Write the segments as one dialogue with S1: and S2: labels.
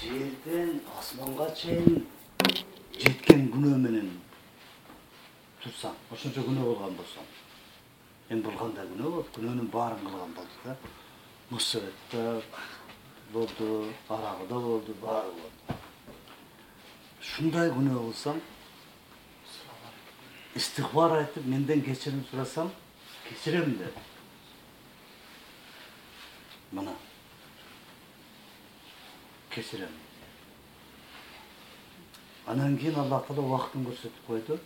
S1: жерден асманга чейин жеткен күнөө менен турсаң, ошончо күнөө болгон болсоң, эми бул кандай күнөө болот? Күнөөнүн баарын кылган болду да. Мусабетте болду, арагыда болду, баары болду. Шундай күнөө кылсам, истигфар айтып, менден кечирим сурасам, кечирем деп. Мына кечирем. Анан кийин Аллах Таала убактын көрсөтүп койду.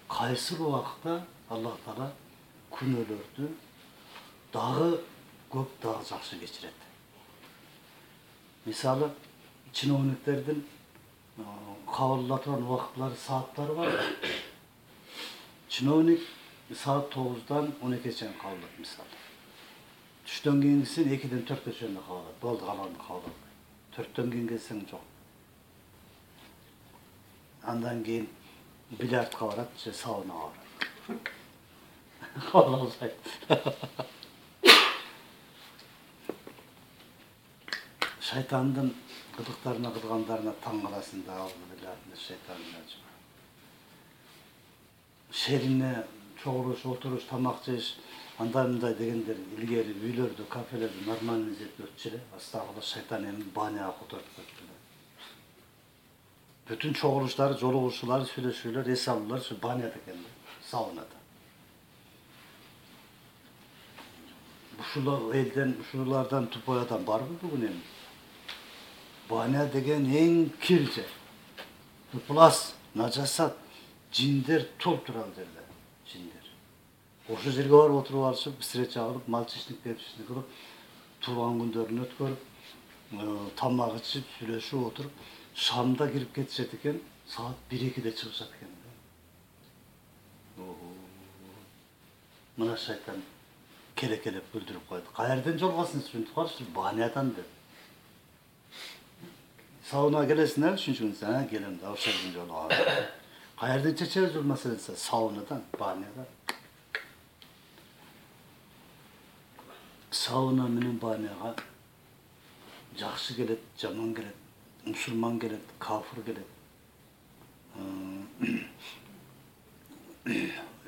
S1: Кайсыл убакта Аллах Таала күнөөлөрдү дагы көп, дагы жакшы кечирет. Мисалы, чиновниктердин кабыл ала турган убакытлары, сааттары бар. Чиновник саат 9-дан 12-ге чейин кабыл алат, мисалы. Түштөн кийинкисин 2-ден 4-ке чейин кабыл алат. Болду, калганын кабыл албайт. 4-төн кийин келсең жок. Андан кийин бильярдка барат, же саунага барат. Кабыл албайт. Шайтандын кылыктарына, кылгандарына таң каласың да, бильярдны шайтандын ачы. Шерине чогулуш, отуруш, тамак жеш, андай дегендер илгери үйлөрдө, кафелерде нормальный жерде өтчү эле. Астагыла шайтан эми баняга которуп кетти. Бүтүн чогулуштары, жолугушуулары, сүйлөшүүлөр, эс алуулар ушу баняда экен, саунада. Ушул элден, ушулардан тупой адам барбы бүгүн эми? Баня деген эң кир жер. Ыплас, нажасат, жиндер толуп турган жерде, жиндер. Ошол жерге барып отуруп алышып, встреча кылып, мальчишник депчишник кылып, туулган күндөрүн өткөрүп, тамак ичип, сүйлөшүп отуруп, шамда кирип кетишет экен, саат 1-2-де чыгышат экен. Мына шайтан керекелеп бүлдүрүп койду. Каерден жолгосун түшүнүп калышы, банядан деп. Сауна келесиңерби үчүнчү күн? Келем да, ошол күн жолугабыз. Каерден чечебиз бул маселени? Саунадан, банядан. Сауна менен баняга жакшы келет, жаман келет, мусулман келет, кафыр келет.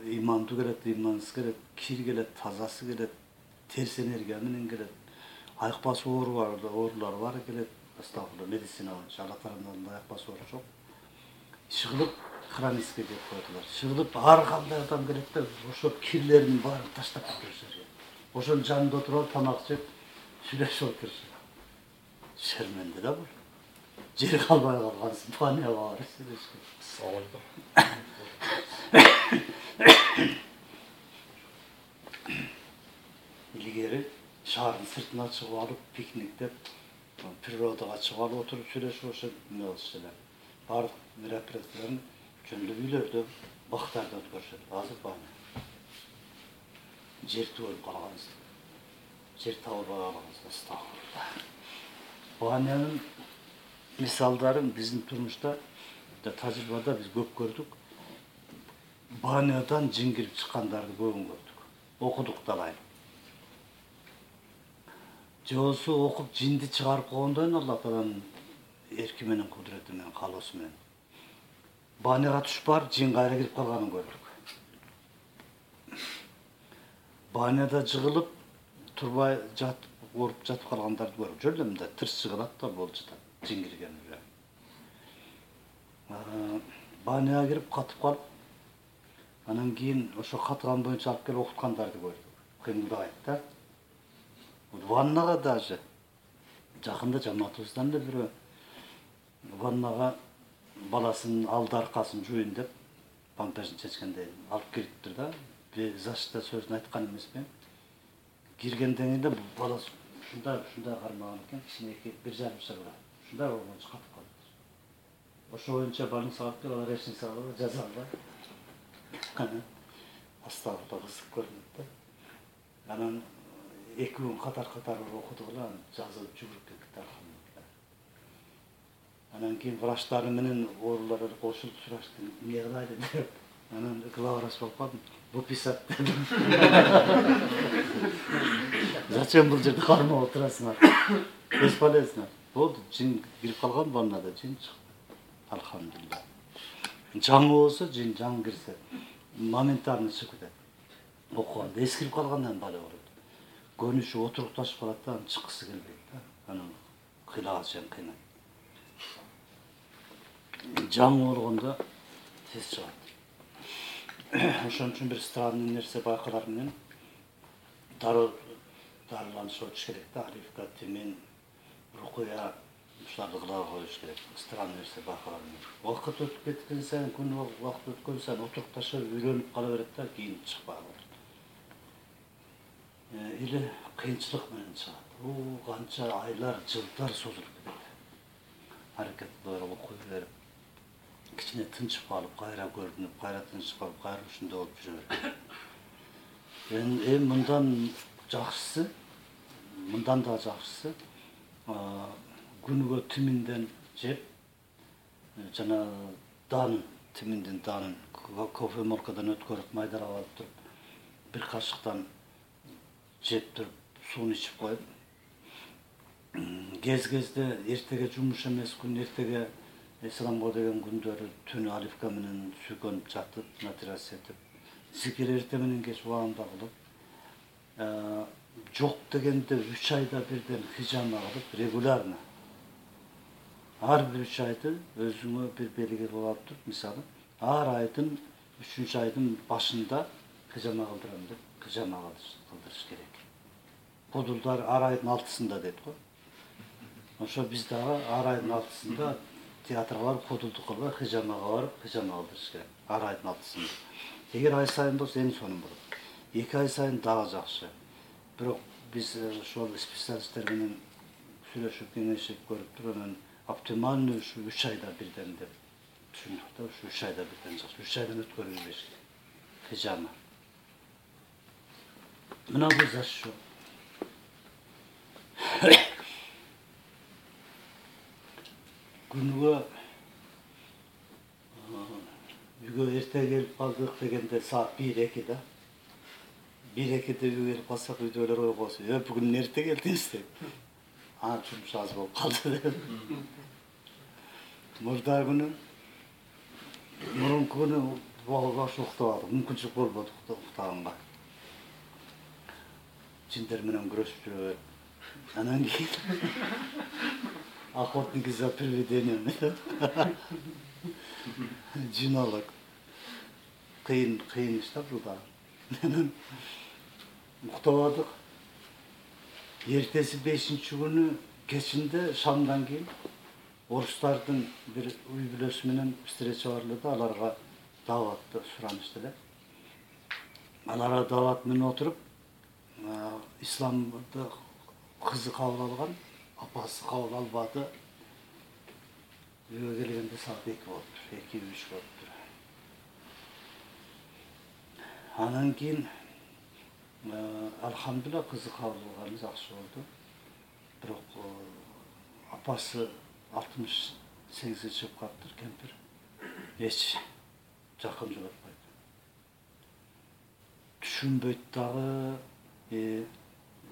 S1: Имандуу келет, имансыз келет, кир келет, тазасы келет, терс энергия менен келет. Айыкпас оорулар бар келет. Астагфирулла, медицина Алла тарабынан айыкпас оору жок. Чыгылып хронический деп коёдулар. Чыгылып ар кандай адам келет да, ошо кирлерин баарын таштап кетишет. Ошонун жанында отуруп, тамак жеп, сүйлөшүп отурушат. Шерменде да бул. Жер калбай калгансың, баняга барып сүйлөшкөн. Илгери шаардын сыртына чыгып алып, пикниктеп, природага чыгып алып отуруп сүйлөшүп, ошо эмне болчу эле. Баардык мероприятияларын жөндөп үйлөрдө, бактарда өткөрүшөт. Азыр баня. Жер түгөлүп калганбыз. Жер табылбай калганбыз. Астагфирулла. Банянын мисалдарын биздин турмушта, тажрыйбада биз көп көрдүк. Банядан жин кирип чыккандарды көбүн көрдүк. Окудук да алайын. Же болсо окуп жинди чыгарып койгондон Алла Тааланын эрки менен, кудурети менен, каалоосу менен. Баняга түшүп барып, жин кайра кирип калганын көрдүк. Баняда жыгылып, турбай жатып, ооруп жатып калгандарды көрдүк. Жөн эле мындай тырс жыгылат да болуп жатат, жин кирген эле. Баняга кирип катып калып, анан кийин ошо катыган боюнча алып келип окуткандарды көрдүк. Кыймылдабайт да. Ваннага даже жакында жамаатыбыздан да бирөө ваннага баласынын алды аркасын жуйын деп памперсин чечкендей алып кириптир да. Безашта сөзүн айткан эмесмин. Киргенден кийин бала ушундай кармаган экен, кичинекей 1,5 жашар. Ушундай болгончо катып калды. Ошо боюнча больницага алып келип, леченица кылып жаза албай. Астагфирулла, кызык көрүнөт да. Анан 2 күн катар окудук эле, жазылып жүгүрүп кетти алхамдулилла. Анан кийин врачтары менен оорулар кошулуп сурашты, эмне кылайлы деп. Анан главврач болуп калдым. Выписать. Зачем бул жерде кармап отурасыңар? Бесполезно. болду, жин кирип калган ваннада, жин чыкты. Алхамдулилла. Жаңы болсо, жин жаңы кирсе, моментально чыгып кетет. Окуганда эскирип калгандан бала болот. Көнүшүп отурукташып калат да, анан чыккысы келбейт да. Анан кыйлагачан кыйнайт. Жаңы болгондо тез чыгат. Ошон үчүн бир странный нерсе байкалар менен дарыланышып өтүш керек да. Оливка, тимин, рукуя, ушуларды кыла коюш керек. Странный нерсе байкалар менен. Убакыт өтүп кеткен сайын, күн убакыт өткөн сайын отурукташып үйрөнүп кала берет да, кийин чыкпай калат. Или кыйынчылык менен чыгат. Канча айлар, жылдар созулуп кетет. Аракет кыла берип, окуй берип, кичине тынчып калып, кайра көрүнүп, кайра тынчып калып, кайра ушундай болуп жүрө берет. Эми мындан жакшысы, мындан да жакшысы, күнүгө тиминден жеп, жана данын, тиминдин данын кофемолкадан өткөрүп, майдалап алып туруп, бир кашыктан жеп туруп, сууну ичип коюп, кезде эртеге жумуш эмес күн, эртеге исламга деген күндөрү түнү оливка менен сүйкөнүп жатып, матрас этип, зикир эрте менен кеч убагында кылып, жок дегенде 3 айда бирден хижама кылып, регулярно. Ар бир 3 айды өзүңө бир белги кылып алып туруп, мисалы, ар айдын 3-чү айдын башында хижама кылдырам деп, хижама кылдырыш керек. Кодулдар ар айдын 6-сында дейт го. Ошо биз дагы ар айдын 6-сында театрга барып, кодулдук кылбай, хижамага барып, хижама кылдырыш керек. Ар айдын 6-сында. Эгер ай сайын болсо эң сонун болот. 2 ай сайын дагы жакшы. Бирок биз ошол специалисттер менен сүйлөшүп, кеңешип көрүп туруп, анан оптимальный ушу 3 айда бирден деп түшүндүк да, ушу 3 айда бирден жакшы. 3 айдан өткөрүлбөш керек. Хижама. Мына бул зашо. Күнүгө үйгө эрте келип калдык дегенде саат 1-2 да. 1-2-де үйгө келип калсак, үйдөгүлөр ой коосун. Бүгүн эрте келдиңиз деп. Жумуш аз болуп калды деп. Мурунку күнү баш уктабадык, мүмкүнчүлүк болбоду уктаганга. Жиндер менен күрөшүп жүрөбүз. Анан кийин охотники за привидениями. Жинолог. Кыйын иш да бул да. Уктабадык. Эртеси 5-чи күнү кечинде шамдан кийин орустардын бир үй бүлөсү менен встреча бар эле да, аларга дааватты суранышты эле. Аларга даават менен отуруп, исламды кызы кабыл алган, апасы кабыл албады. Үйгө келгенде саат 2 болуптур, 2-3 болуптур. Анан кийин алхамдулилла кызы кабыл алганы жакшы болду. Бирок апасы 68-ге чыгып калыптыр, кемпир. Эч жакын жолотпойт. Түшүнбөйт дагы,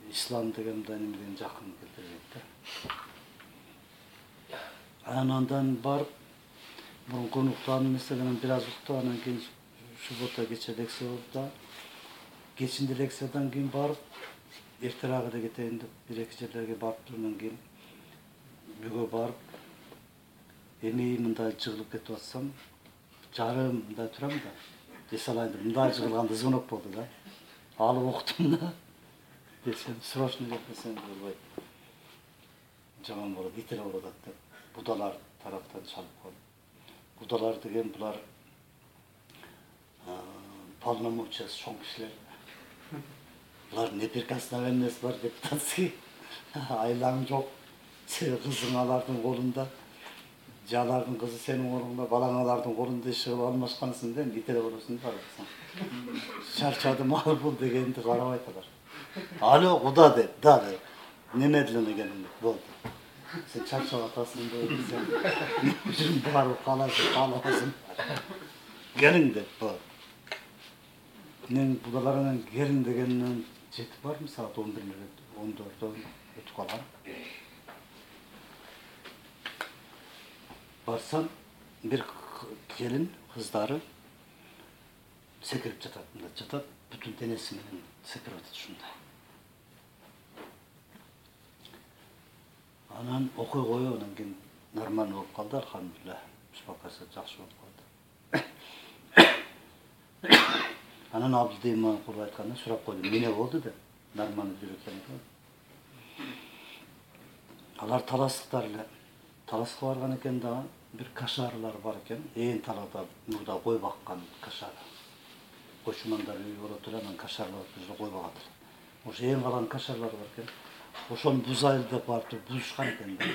S1: ислам деген мындай немеден жакын келтирбейт да. Андан барып, мурунку уктаган эмес, анан бир аз уктап, анан кийин суббота кече лекция болду да. Кечинде лекциядан кийин барып, эртерээк эле кетейин деп, 1-2 жерлерге барып тургандан кийин үйгө барып, эми мындай жыгылып кетип атсам, жарым мындай турам да, эс алайын деп, мындай жыгылганда звонок болду да. Алып уктум да. Десем, срочно кетпесем болбойт. Жаман болот, итире болот деп, будалар тараптан чалып коюп. Будалар деген булар полномочиясы чоң кишилер. Булар неприкосновенный эмес бар депутатский. Айлаң жок. Кызың алардын колунда. Же алардын кызы сенин колуңда, балаң алардын колунда иш кылып алмашкансың да, итире болосуң да. Чарчадым ал бул дегенди карабайт алар. Алло, куда деп, да деп. Немедленно келиң деп, болду. Сен чарчап атасың деп, сен барып каласың. Келиң деп, болду. Мен будаларынан келиң дегеннен жетип бармын, саат 11-14-дө өтүп калган. барсам бир келин кыздары секирип жатат, мында жатат, бүтүн денеси менен секирип атат ушундай. Анан окуй коюп, анан кийин нормально болуп калды, алхамдулилlah. Успокойся, жакшы болуп калды. Анан Абдылдыйман куруп айтканда сурап койдум, эмне болду деп. Нормально жүрүп экен. Алар таластыктар эле. Таласка барган экен дагы, бир кашарлар бар экен. Ээн талада мурда кой баккан кашар. Кочумандар үй болот эле, анан кашарлар өзү кой багат эле. Ошо ээн калган кашарлар бар экен. Ошону бузайлы деп барып туруп бузушкан экен да.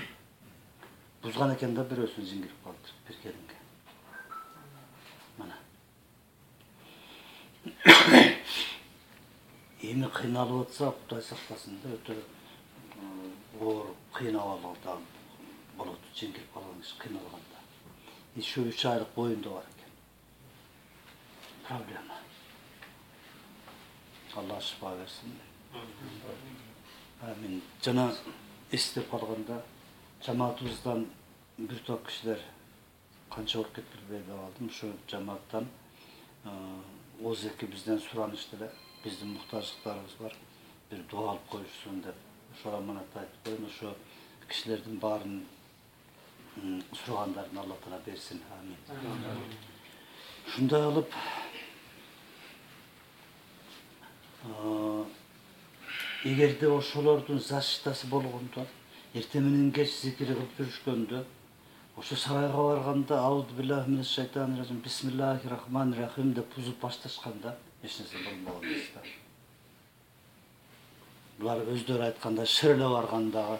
S1: Бузган экен да, бирөөсүн жиңгирип калды бир келинге. Мына. Эми кыйналып атса, Кудай сактасын да, өтө оор кыйналганда болот, жиңгирип калган киши кыйналганда. Еще 3 айлык боюнда бар экен. Проблема. Алла шифа берсин. Амин. Жана эстеп калганда жамаатыбыздан бир топ кишилер канча болуп кетти билбей калдым. Ушу жамааттан бизден суранышты эле. Биздин муктаждыктарыбыз бар. Бир дуа алып коюшсун деп. Ошого аманат айтып коеюн. Ошо кишилердин баарын сурагандарын Алла Таала берсин. Амин. Ушундай кылып эгерде ошолордун защитасы болгондо, эртең менен кеч зикир кылып жүрүшкөндө, ошо сарайга барганда ауду биллахи минаш шайтанир раджим, бисмиллахир рахманир рахим деп бузуп башташканда эч нерсе болбогон эмес да. Булар өздөрү айтканда шерле баргандагы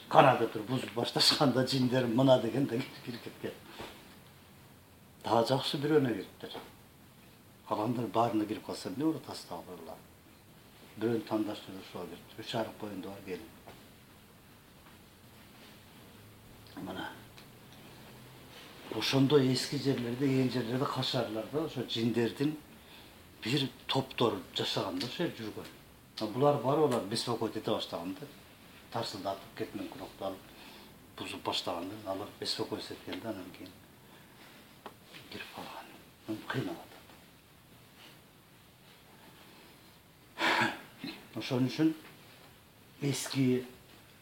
S1: канада туруп бузуп башташканда жиндер мына дегенде кирип кеткен. Дагы жакшы бирөөнө кириптир. Калгандар баарына кирип калса эмне болот астагфирулла. Бирөөнү тандашты ошого кирди. 3 айлык боюнда бар келин. Мына. Ошондо эски жерлерде, ээн жерлерде кашарларда ошо жиндердин бир топтору жашаганда ошо жүргөн. Булар барып алар беспокоить эте баштаганда, тарсылдатып, кетмен курокту алып бузуп баштаганда, алар беспокоить эткенде анан кийин кирип калган. Кыйналат. Ошон үчүн эски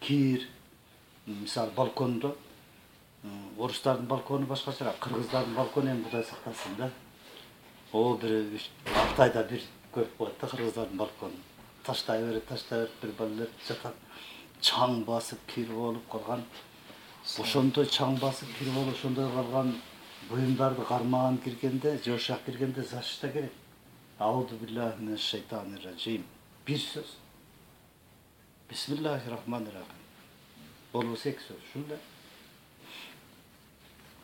S1: кир, мисалы балкондо, орустардын балкону башкачараак, кыргыздардын балкону эми Кудай сактасын да. Бир 6 айда бир көрүп коет да кыргыздардын балконун. Таштай берет, бир балдар жатат. Чаң басып кир болуп калган. Ошондой чаң басып кир болуп, ошондой калган буюмдарды кармаган киргенде, жошак киргенде защита керек. Ауду биллахи минаш шайтанир раджим. Bir söz. Bismillahirrahmanirrahim. Болбосо 2 сөз. Ушундай.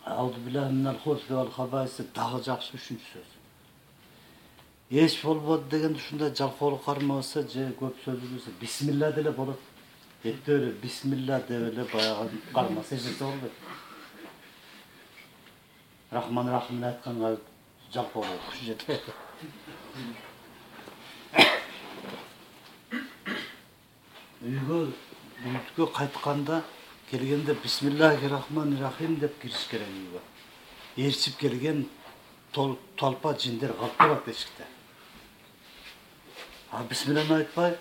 S1: Ауду биллахи минал хубси вал хабаиси дагы жакшы 3 сөз. Эч болбоду дегенде ушундай жалкоолук кармабаса же көп сөз билсе бисмилла деле болот. Эптеп эле бисмилла деп эле баягы кармаса эч нерсе болбойт. Рахман рахимди айтканга жалкоолук күч жетпейт. Үйгө кайтканда келгенде бисмиллахиррахманиррахим деп кириш керек үйгө. Ээрчип келген толпа жиндер калып калат эшикте. Бисмиллахны айтпай,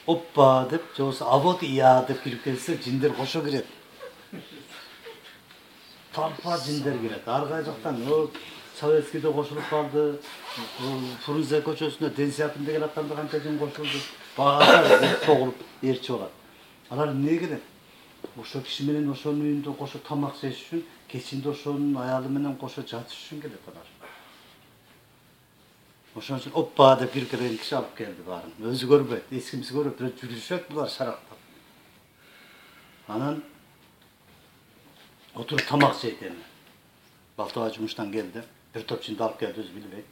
S1: оппа деп, же болбосо авот ия деп кирип келсе, жиндер кошо кирет. Толпа жиндер кирет. Ар кай жактан Советскийде кошулуп калды. Фрунзе көчөсүнө Ден Сяопин деген аттанды канча жин кошулду. Баары согулуп ээрчип алат. Алар эмне керек? Ошо киши менен ошонун үйүндө кошо тамак жеш үчүн, кечинде ошонун аялы менен кошо жатыш үчүн келет алар. Ошон үчүн оппа деп кирип келген киши алып келди баарын. Өзү көрбөйт, эч кимиси көрбөйт, бирок жүрүшөт булар шарактап. Анан отуруп тамак жейт эми. Балтаба жумуштан келди. Бир топ жинди алып келди, өзү билбейт.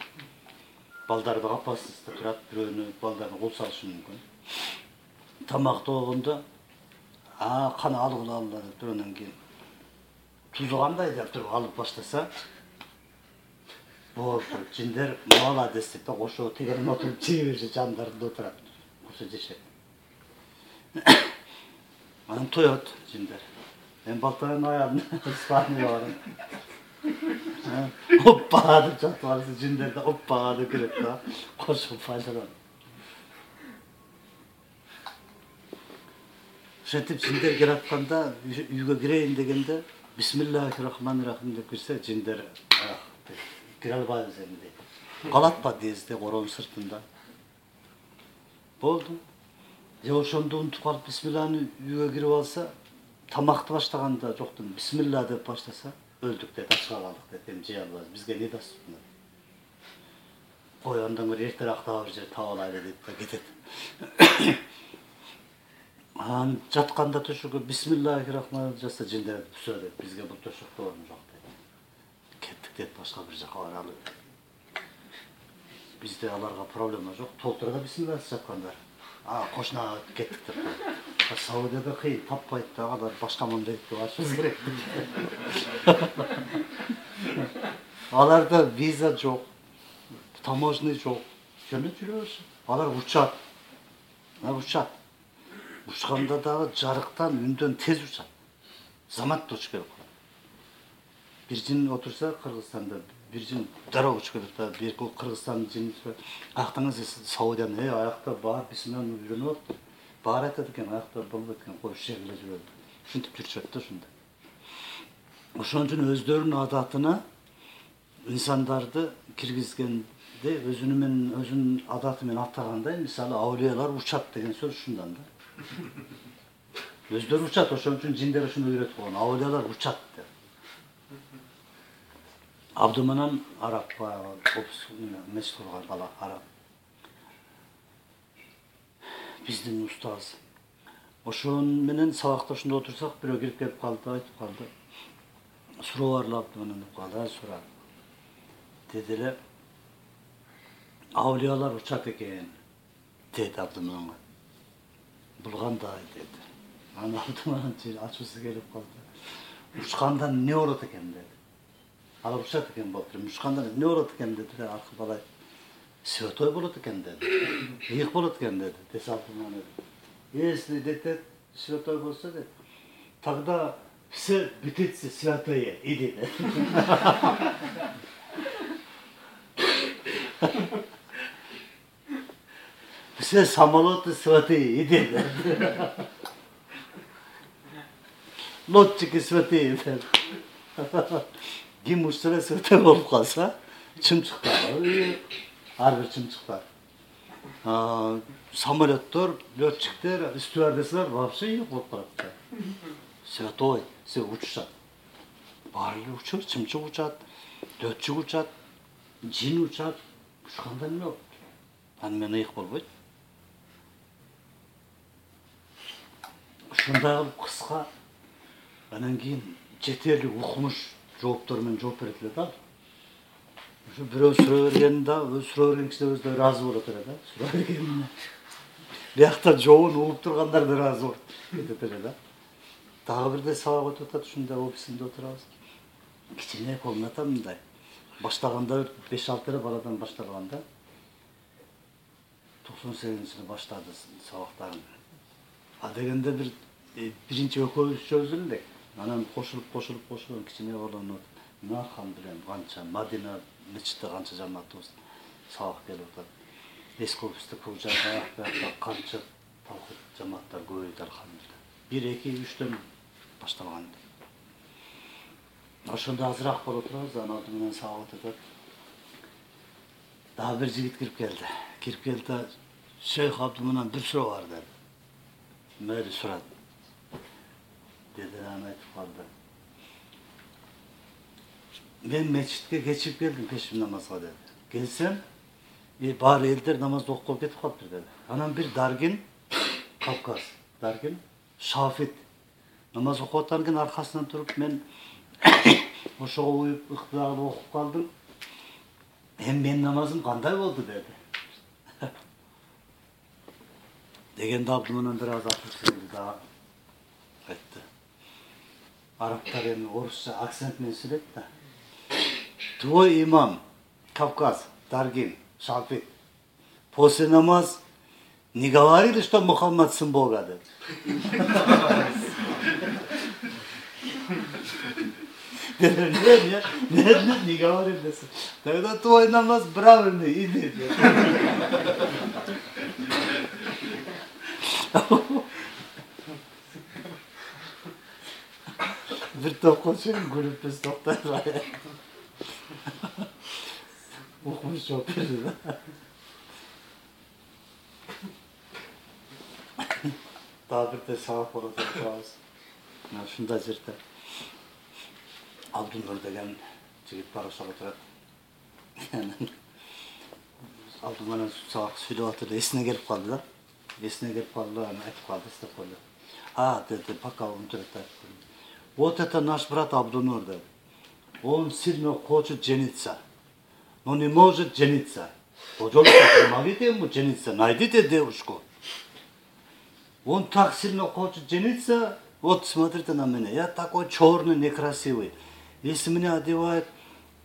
S1: Балдарды капасызда турат, бирөөнү балдарын кол салышы мүмкүн. Тамакты болгондо кана алгыла деп бирөөнөн кийин тузу кандай деп туруп алып баштаса, болду. Жиндер молодец деп кошо тегерен отуруп жей беришет, жандарында отурат. Кошо жешет. Анан тоет жиндер. Мен балтайын аягын Испания барым. Оппа деп жатып алса жиндерде оппа деп келет да. Кошуп пайдалан. Ошентип жиндер келатканда үйгө кирейин дегенде бисмиллахиррахманиррахим деп кирсе жиндер кире албайбыз эми дейт. Калат подъездде коронун сыртында. Болду. Же ошондо унутуп калып бисмилланы үйгө кирип алса, тамакты баштаганда жоктун бисмилла деп баштаса, өлдүк дейт, ачка калдык дейт, эми жей албайбыз. Бизге не дас? Ой, андан көрө эртерээк дагы бир жер таап алайлы дейт да кетет. Жатканда төшөгө бисмиллахиррахманиррахим жазса жиндер түсө дейт. Бизге бул төшөктө орун жок дейт. Кеттик дейт, башка бир жака баралы. Бизде аларга проблема жок. Толтура да бисмиллахсыз жаткандар. Кошуна кеттик деп коет. Саудияда кыйын, таппайт дагы, алар башка мамлекетке барышыбыз керек. Аларда виза жок, таможня жок. Жөнөп жүрөбүз. Алар учат. Учат. Учканда дагы жарыктан, үндөн тез учат. Заматта учуп келип калат. Бир жин отурса Кыргызстанда, бир жин дароо учуп келет да, бир Кыргызстандын жини аяктаңыз Саудияны, аякта бар бисмилланы үйрөнүп атты. Бар айтат экен, аякта болбойт экен, коюш жерге жүрөт. Ушинтип жүрүшөт да ушунда. Ошон үчүн өздөрүнүн адатына инсандарды киргизгенде өзүнүн адаты менен атагандай, мисалы аулиялар учат деген сөз ушундан да. Өздөрү учат, ошон үчүн жиндер ушуну үйрөтүп койгон. Аулиялар учат деп. Абдуманан араб мечит курган бала араб. Биздин устаз. Ошон менен сабакта ушунда отурсак, бирөө кирип келип калды, айтып калды. Суроо Абдуманан деп калды, сураа. Деди эле, аулиялар учат экен, деди Абдумананга. Бул кандай деди. Аны Абдуманан ачуусу келип калды. Учканда эмне болот экен деди. Алар учат экен болуп, учканда эмне болот экен деди. Аркы бала святой болот экен деди. Ыйык болот экен деди. Десе Абдуманан. Если деди святой болсо деди, тогда все битицы святые, иди деди. Все самолеты святые, иди деди. Лодчики святые деди. Ким учса святой болуп калса, чымчыктар, ар бир чымчыктар. Самолеттор, летчиктер, стюардессалар вообще ыйык болуп калат. Святой, все учат. Баары учат, чымчык учат, летчик учат, жин учат. Учканда эмне болот? Аны менен ыйык болбойт. Ушундай кылып кыска, анан кийин жетерлик укмуш жооптор менен жооп берет эле да. Ошо бирөө суроо берген да, суроо берген кишилер өздөрү ыраазы болот эле да. Суроо бергенине. Биякта жообун угуп тургандар да ыраазы болуп кетет эле да. Дагы бирде сабак өтүп атат, ушунда офисинде отурабыз. Кичине комната мындай. Баштаганда 5-6 эле баладан башталган да. 98-жылы баштады сабактарын. Дегенде биринчи экөөбүз элек. Анан кошулуп кичине болонуп, Нархан билен канча Мадина мечитте канча жамаатыбыз сабак келип атат. Эски офисте кылжаакта канча талкут жамааттар көбөйдү алхамдулилла. 1-2-3төн башталган. Ошондо азыраак болуп турабыз, анан менен сабак өтөт. Дагы бир жигит кирип келди. Кирип келди, Шейх Абдуманан бир суроо бар деди. Мээри сурат. Деди, аны айтып калды. Мен мечитке кечип келдим пешим намазга деди. Келсем, баары элдер намазды окуп кетип калыптыр деди. Анан бир Даргин, Кавказ, Даргин, Шафит намаз окуп аткан экен, аркасынан туруп мен ошого уюп ыктыярды окуп калдым. Эми менин намазым кандай болду деди. Дегенде Абдуманан бир аз акырчылды да айтты. Арабтар эми орусча акцент менен сүйлөйт да. Твой имам, Кавказ, Даргин, Шафит, после намаз не говорили, что Мухаммад сын Бога, дед. Нет, не говори мне. Тогда твой намаз правильный, иди. Bir to'qolsang kulib biz to'xtaydi. O'qimish javob berdi. Tabirde sağ kola turabız. Mana shunda жерде Abdunur деген жигит бар ошого турат. Abdunur менен сабак сүйлөп атыр, эсине келип калды да. Эсине келип калды, аны айтып калды, деп койду. Деди, пока он турат. Вот это наш брат Абдунур, да. Он сильно хочет жениться, но не может жениться. Пожалуйста, помогите ему жениться, найдите девушку. Он так сильно хочет жениться, вот смотрите на меня, я такой черный, некрасивый. Если меня одевает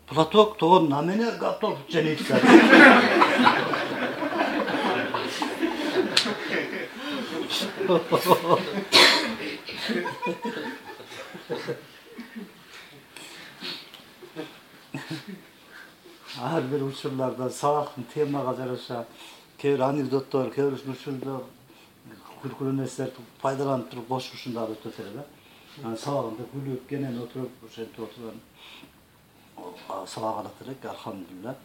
S1: платок, то он на меня готов жениться. Ар бир учурларда сабактын темага жараша кээ бир анекдоттор, кээ бир ушундай күлкүлүү нерселерди пайдаланып туруп кошуп ушундай өтөт эле да. Анан сабагында күлүп кенен отуруп, ошентип отурган сабак алат элек, алхамдулилла.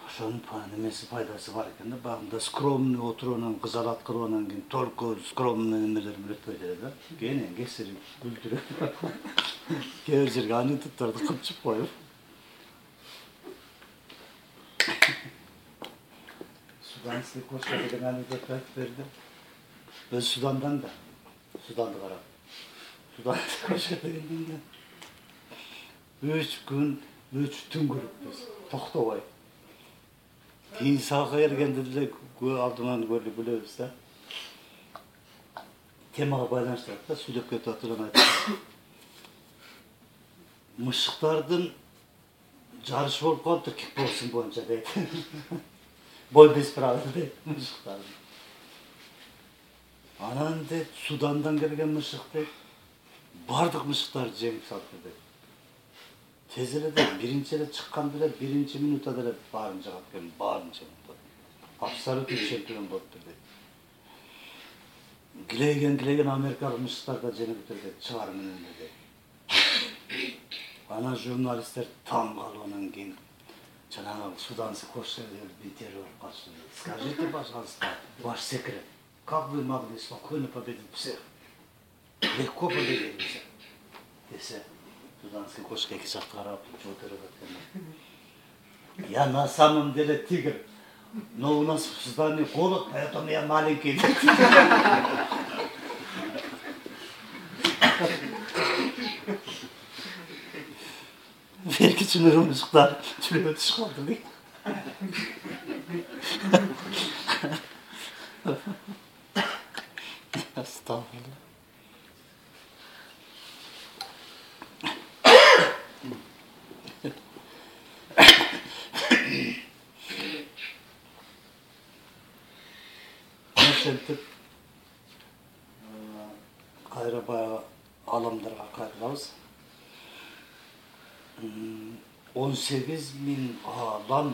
S1: Ошонун немеси пайдасы бар экен да. Багында скромный отуруп анан кызалат кылып анан кийин только скромный немелер менен өтпөйт эле да. Кенен кесирип күлдүрүп. Кээ бир жерге анекдотторду кылчып коюп. Суданский кошка деген анекдот айтып берди. Өз Судандан да. Суданды карап. Суданский кошка дегенден 3 күн, 3 түн көрүппүз. Токтобой. Кийин сабакка келгенде деле алдынан көрүп билебиз да. Темага байланыштырат да, сүйлөп кетип атырган айтып. Мышыктардын жарышы болуп калыптыр кикбоксинг боюнча дейт. Бой без правил дейт мышыктардын. Анан дейт, Судандан келген мышык дейт, бардык мышыктарды жеңип салды дейт. Тез эле дейт, биринчи эле чыкканда эле, биринчи минутта эле баарын жагат экен, баарын жеңип. Абсолютный чемпион болуптур дейт. Килейген америкалык мышыктар да жеңиптир дейт, чыгар менен дейт. Анан журналисттер таң калып анан кийин жанагы суданский кошка интервью алып калышты. Скажите, пожалуйста, ваш секрет. Как вы могли спокойно победить всех? Легко победили всех. Десе, суданский кошка эки жакка карап отуруп аткан. Я на самом деле тигр, но у нас в Судане голод, поэтому я маленький. Belki çınırım ışıklar çürüme çıkardı değil. Estağfurullah. Ошентип кайра баягы аламдарга кайтабыз. 18.000 alam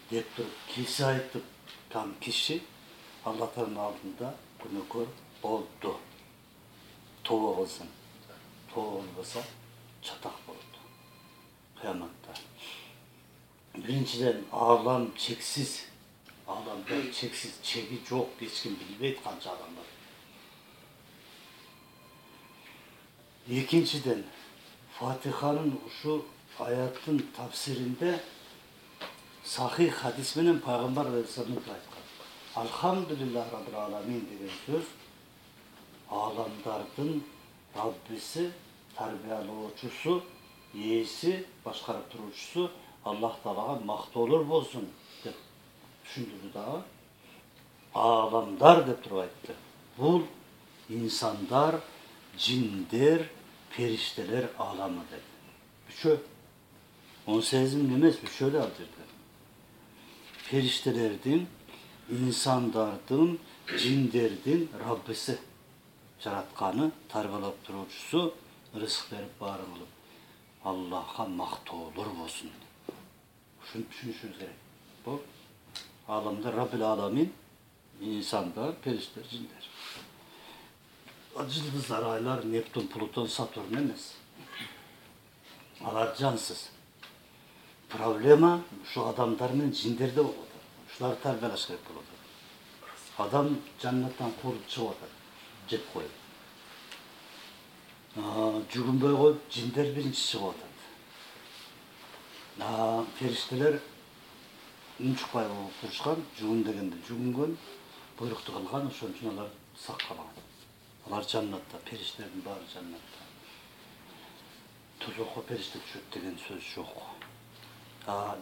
S1: деп туруп киши айтып, там киши Аллахтын алдында күнөөкөр болду. Тобо кылсын. Тобо болбосо чатак болот. Кыяматта. Биринчиден алам чексиз. Аламда чексиз, чеги жок, эч ким билбейт канча адам бар. Экинчиден Fatiha'nın şu ayatın tafsirinde sahih hadis menен Peygamber Aleyhisselam'ın aytkan. Alhamdulillah Rabbil Alamin деген söz alamdardın Rabbisi, tarbiyaloочусу, ээси, башкарып туруучусу Аллах Таалага мактоолор болсун деп түшүндүрдү дагы. Alamдар деп туруп айтты. Бул инсандар, жиндер, perişteler alamı dedi. Üçü. 18.000 emez, üçü de aldırdı. Periştelerdin, insandardın, cinderdin Rabbisi. жаратканы, тарбиялап туруучусу, рызык берип баарын кылып, Аллахка мактоолор болсун. Ушуну түшүнүшүбүз керек. Бул аламда Раббил аламин, инсандар, периштелер, жиндер. Жылдыздар, айлар, Нептун, Плутон, Сатурн эмес. Алар жансыз. Проблема ушу адамдар менен жиндерде болуп атат. Ушуларды тарбиялаш керек болуп атат. Адам жаннаттан кууруп чыгып атат, жеп коюп. Жүгүнбөй коюп, жиндер биринчи чыгып атат. Периштелер үн чыкпай болуп турушкан, жүгүн дегенде жүгүнгөн, буйрукту кылган, ошон үчүн алар саккалган. Алар жаннатта, периштелердин баары жаннатта. Тозокко периште түшөт деген сөз жок.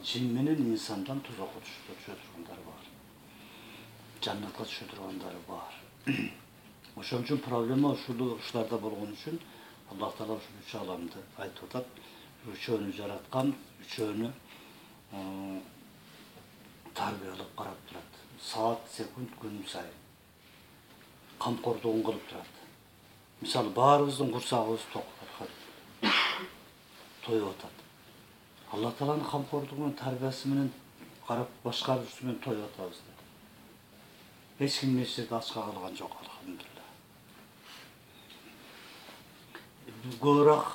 S1: Жин менен инсандан тозокко түшө тургандары бар. Жаннатка түшө тургандары бар. Ошон үчүн проблема ушуларда болгон үчүн Аллах Таала ушул үч аламды айтып атат. Үчөөнү жараткан, үчөөнү тарбиялап карап турат. Саат, секунд, күн сайын камкордугун кылып турат. Мисалы, баарыбыздын курсагыбыз ток, тоюп атат. Аллах Тааланын камкордугу менен, тарбиясы менен карап башкаруусу менен тоюп атабыз. Эч ким эч жерде ачка калган жок, алхамдулилла. Көбүрөөк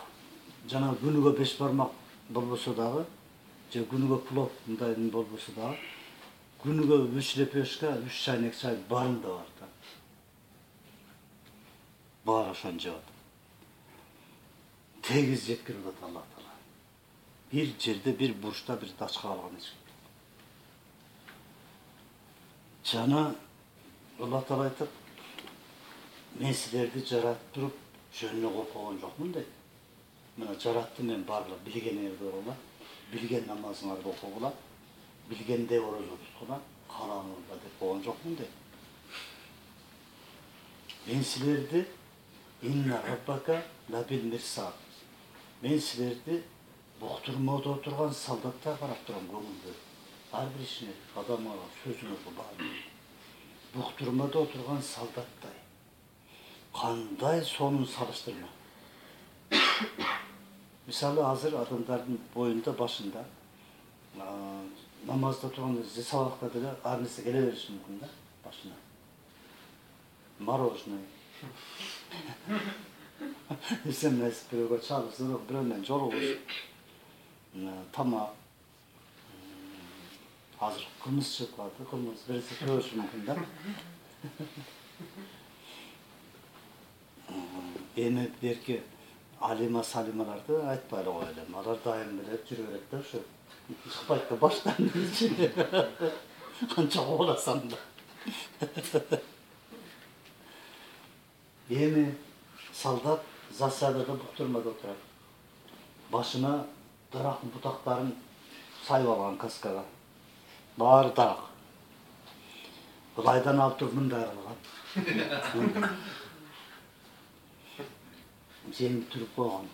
S1: жана күнүгө 5 бармак болбосо дагы, же күнүгө плов мындай болбосо дагы, күнүгө 3 лепешка, 3 чайнек чай барын да бар да. Баары ошону жеп атат. Тегиз жеткирип атат Аллах Таала. Bir жерде, bir бурчта, bir дачка калган эч ким. Жана Аллах Таала айтат, мен силерди жаратып туруп, жөнүнө коюп койгон жокмун дейт. Мына жараттым мен барлык билгениңерди окугула, билген намазыңарды окугула, билгенде орозо туткула, калаңызда деп койгон жокмун дейт. Мен силерди инна раббака лабил мирсад. Мен силерди буктурмодо отурган солдаттар карап турам, көңүлдө. Ар бир ишине, адамга, сөзүңөргө баары. Буктурмодо отурган солдаттай. Кандай сонун салыштырма. Мисалы, азыр адамдардын боюнда, башында намазда турганда, сабакта деле ар нерсе келе бериши мүмкүн да, башына. Мороженое. Эсемес бирөөгө чалып, бирөө менен жолугуш. Тамак. Азыр кылмыс чыгып калды, кылмыс берсе көрүшү мүмкүн да. Эми берки алима салималарды айтпай эле коелу. Алар дайым эле жүрө берет да, ушу чыкпайт да баштан. Канча кубаласам да. Эми солдат засадада буктурмада отурат. Башына дарактын бутактарын сайып алган каскага. Баары дарак. Былайдан алып туруп мындай кылган. Жеңип туруп койгон.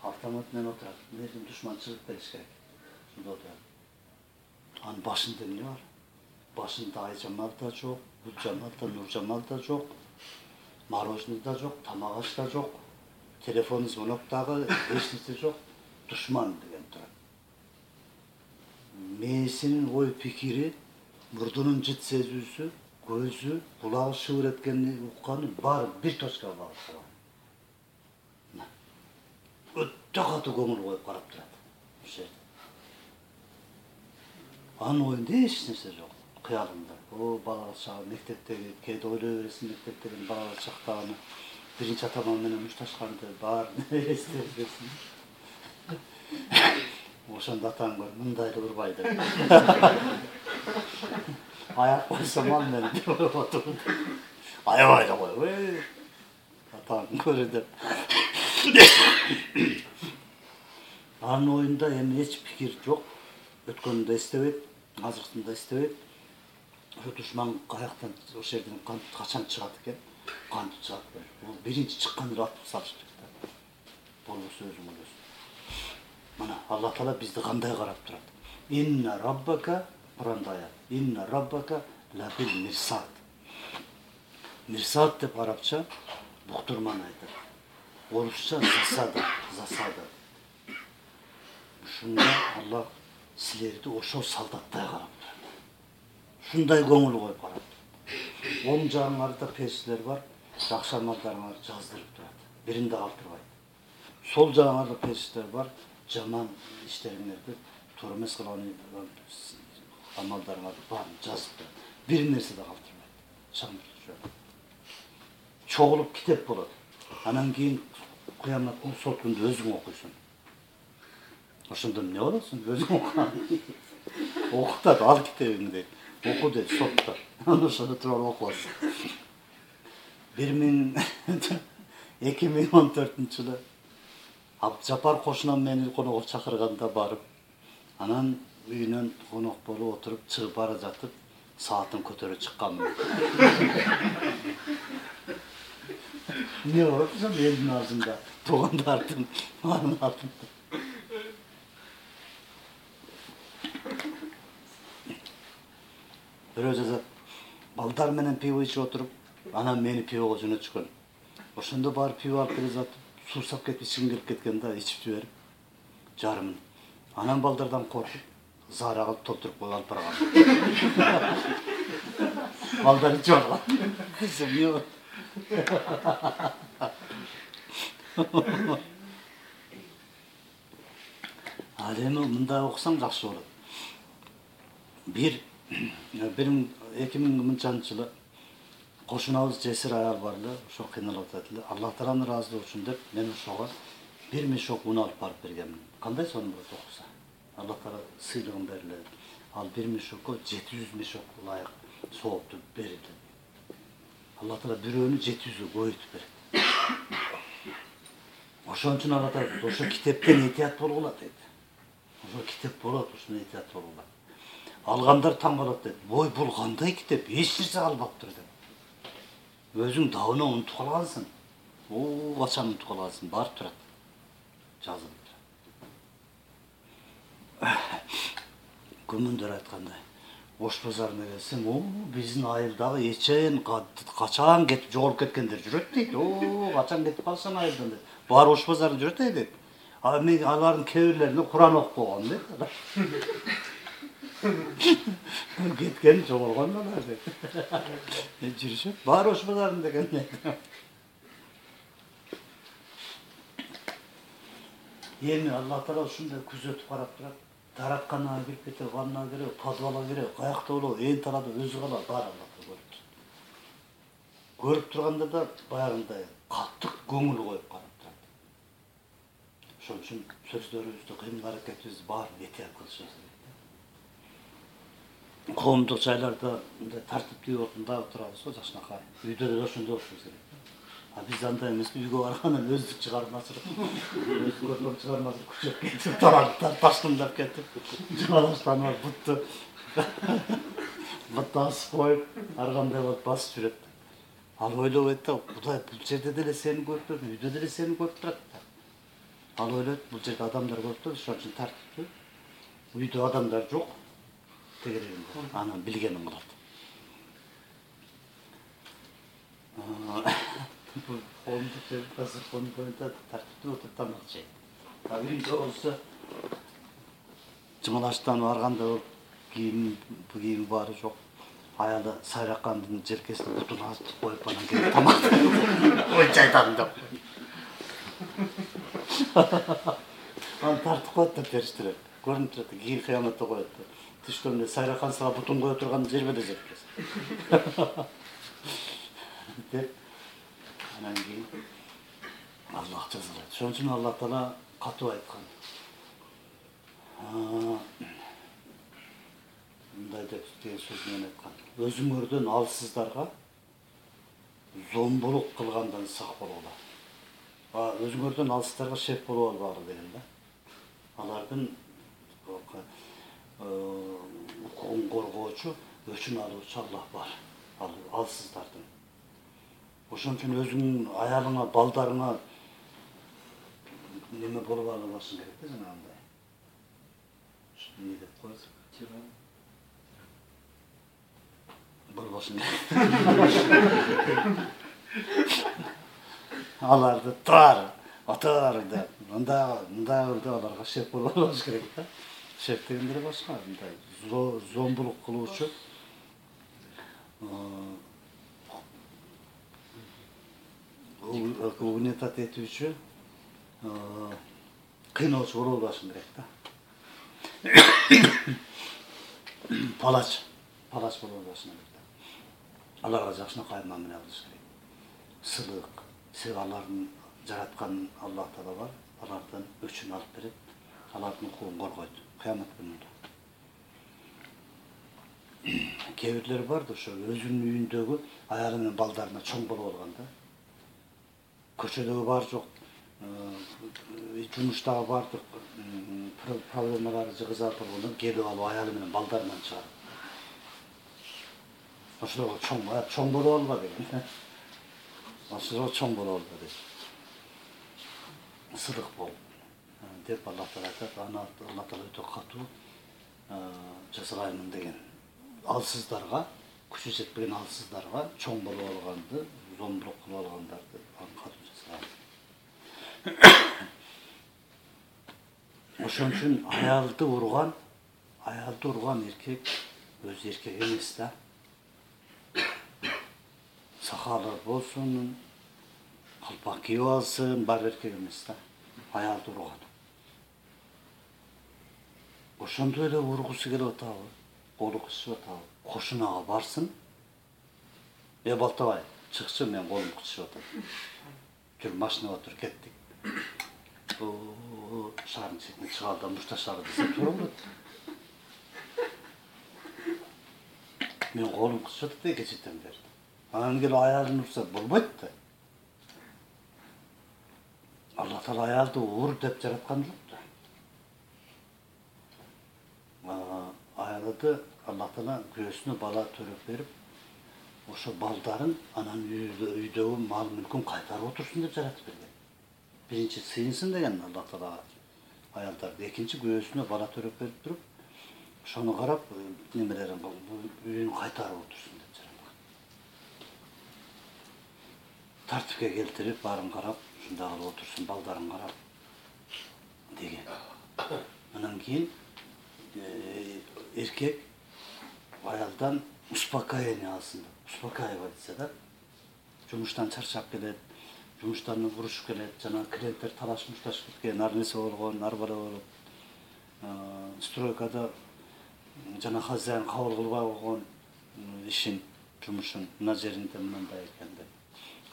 S1: Автомат менен отурат. Мындан душман чыгып келиш керек. Шунда отурат. Анын башында эмне бар? Башында Айжамал да жок, Гүлжамал да, Нуржамал да жок. Мороженое да жок, тамак аш да жок. Телефон звонок дагы эч нерсе жок. Душман деген турат. Мээсинин ой пикири, мурдунун жыт сезүүсү, көзү, кулагы шыбыр эткенин укканы баары бир точкага багытталган. Өтө катуу көңүл коюп карап турат. Ошо жерде. Анын оюнда эч нерсе жок. Кыялында. Балалык чагы мектептеги, кээде ойлой бересиң мектептеги балалык чактаганы, биринчи атаман менен мушташканды баарын эстеп бересиң. Ошондо атаң көр, мындай эле урбай деп. Аяп койсом ал мен деп отурду. Аябай эле кой. Атаң көрө деп. Анын оюнда эми эч пикир жок. Өткөнүн да эстебейт, азыркысын да эстебейт. Ошо душман каяктан, ошол жерден качан чыгат экен, кантип чыгат экен. Бул биринчи чыккан эле атып салыш керек да. Болбосо өзүң өлөсүң. Мына Аллах Таала бизди кандай карап турат. Инна раббака, Куранда аят. Инна раббака лабил мирсад. Мирсаат деп арабча буктурман айтат. Орусча засада. Ушунда Аллах силерди ошол солдаттай карап турат. Ушундай көңүл коюп карап турат. Оң жагыңарда периштелер бар, жакшы амалдарыңарды жаздырып турат. Биринде калтырбайт. Сол жагыңарда периштелер бар, жаман иштериңерди туура эмес кылган амалдарыңарды баарын жазып турат. Бир нерсе да калтырбайт. Чаңдырып чогулуп китеп болот. Анан кийин кыяматтын сот күндө өзүң окуйсуң. Ошондо эмне болосуң? Өзүң окуган. Окутат, ал китебиңди. Оку дейт сотто. Анан ошондо туруп окуасың. 2014-жылы Абджапар кошунам мени конокко чакырганда барып, анан үйүнөн конок болуп отуруп чыгып бара жатып, саатын көтөрүп чыкканмын. Не болуп ошо элдин алдында, туугандардын алдында. Бирөө жазат, балдар менен пиво ичип отуруп, анан мени пивого жөнөтүшкөн. Ошондо барып пиво алып келе жатып, суусап кетип ичким келип кеткен да, ичип жиберип, жарымын. Анан балдардан коркуп, заара кылып толтуруп коюп алып барган. Балдар ичип алган. Ал эми мындай окусаң жакшы болот. 2000-жылы кошунабыз жесир аял бар эле, ошо кыйналып атат эле. Аллах Тааланын ыраазылыгы үчүн деп мен ошого 1 мешок un алып барып бергенмин. Кандай сонун болот окуса. Аллах Таала сыйлыгын бериле. Ал 1 мешокко 700 мешок ылайык соопту берилди. Аллах Таала бирөөнү 700гө көбөйтүп берет. Ошон үчүн Аллах Таала ошо китептен этият болгула дейт. Ошо китеп болот, ушуну этият болгула. Алгандар таң калат дейт. Бой, бул кандай китеп? Эч нерсе калбаптыр деп. Өзүң дабына унутуп калгансың. Качан унутуп калгансың, барып турат. Жазылып турат. Көмөндөр айткандай. Ош базарына келсең, биздин айылдагы эчен качан кетип жоголуп кеткендер жүрөт дейт. Качан кетип калсаң айылдан дейт. Баары Ош базарына жүрөт дейт. Мен алардын кээ бирлерине Куран окуп койгон дейт. Кеткен жоголгон алар дейт. Жүрүшөт. Баары Ош базарында экен дейт. Эми Аллах Таала ушундай күзөтүп карап турат. Таратканага кирип кетип, ваннага кирип, подвалга кирип, каякта болобу, ээн талаада өзү калат, баары Аллах көрүп турат. Көрүп турганда да баягындай катык көңүл коюп карап турат. Ошон үчүн сөздөрүбүздү, кыймыл-аракетибизди баарын этият кылышыбыз керек. Коомдук жайларда мындай тартиптүү орунда турабыз го, жакшынакай. Үйдө деле ошондой болушубуз керек. Биз андай эмес, үйгө баргандан өздүк чыгармачылык, өздүк чыгармачылык күчөп кетип, тарактар таштандап кетип, жалаштанып, бутты асып коюп, ар кандай болуп басып жүрөт. Ал ойлобойт да, Кудай бул жерде деле сени көрүп турат, үйдө деле сени көрүп турат. Ал ойлойт, бул жерде адамдар көрүп турат, ошон үчүн тартиптүү. Үйдө адамдар жок, тегерегинде, анан билгенин кылат. Коомдук дасыркондун боюнда тартиптүү отуруп тамак жейт. Үйдө болсо жымалаштан арганда болуп кийим баары жок. Аялы сайраккандын желкесине бутун астып коюп анан келип тамак ой жайдам деп. Аны тартып коет да периштелер. Көрүнүп турат, кийин кыяматта коет. Түштөн эле сайраккан сага бутун кое турган жербеде жетпес. Деп анан кийин Аллах жазалайт. Ошон үчүн Аллах Таала катуу айткан. Мындай деп деген сөз менен айткан. Өзүңөрдөн алсыздарга зомбулук кылгандан сак болгула. Өзүңөрдөн алсыздарга шеф болуп албагыла деген да. Алардын укугун коргоочу, өчүн алуучу Аллах бар. Алсыздардын. Ошон үчүн өзүңүн аялыңа, балдарыңа неме болуп албашың керек да, жанагындай. Не деп коесуң? болбосун. Аларды отор деп, мында аларга шеф болбош керек да. Шеф дегендер башка, мындай зомбулук кылуучу, угнетать этүүчү, кыйноочу болбошун керек да. Палач болбошун керек да. Аларга жакшынакай мамиле кылыш керек. Сылык, себеби алардын жараткан Аллах Таала бар, алардан өчүн алып берет, алардын укугун коргойт кыямат күнүндө. Кээ бирлер бар да, ошо өзүнүн үйүндөгү аялы менен балдарына чоң болуп алган да. Көчөдөгү бар жок, жумуштагы бардык проблемалары жыгызат болгондон келип алып аялы менен балдарынан чыгарат. Ошолорго чоң болуп алба деген. Ошолорго чоң болуп алба дейт. Сыдык бол деп Аллах Таала айтат. Аллах Таала өтө катуу жазгаймын деген. Алсыздарга, күчү жетпеген алсыздарга чоң болуп алганды, зомбулук кылып алгандарды катуу жазган. Ошон үчүн аялды урган эркек өзү эркек эмес да. Сакалы болсун, калпак кийип алсын, бар эркек эмес да. Аялды урган. Ошондой эле ургусу келип атабы, колу кычып атабы, кошунага барсын. Балтабай, чыкчы, мен колум кычып атат. Жүр, машинага отур, кеттик. Шаардын четине чыгалы да мушташалы десе туура болот. Мен колум кычып атат да кечеден бери. Анан келип аялын урса болбойт да. Аллах Таала аялды ур деп жараткан жок да. Аялды Аллах Таала күйөөсүнө бала төрөп берип, ошо балдарын анан үйдөгү мал мүлкүн кайтарып отурсун деп жаратып берген. Биринчи сыйынсын деген Аллах Таала аялдарды, экинчи күйөөсүнө бала төрөп берип туруп, ошону карап немелерин үйүн кайтарып отурсун деп жараткан. Тартипке келтирип, баарын карап, ушундай кылып отурсун, балдарын карап деген. Анан кийин эркек аялдан успокоение алсын деп, успокаивать этсе да. Жумуштан чарчап келет, жумуштан урушуп келет, жана клиенттер талаш мушташып кеткен, ар нерсе болгон, ар бала болуп, стройкада жана хозяин кабыл кылбай койгон ишин, жумушун, мына жеринде мындай экен деп.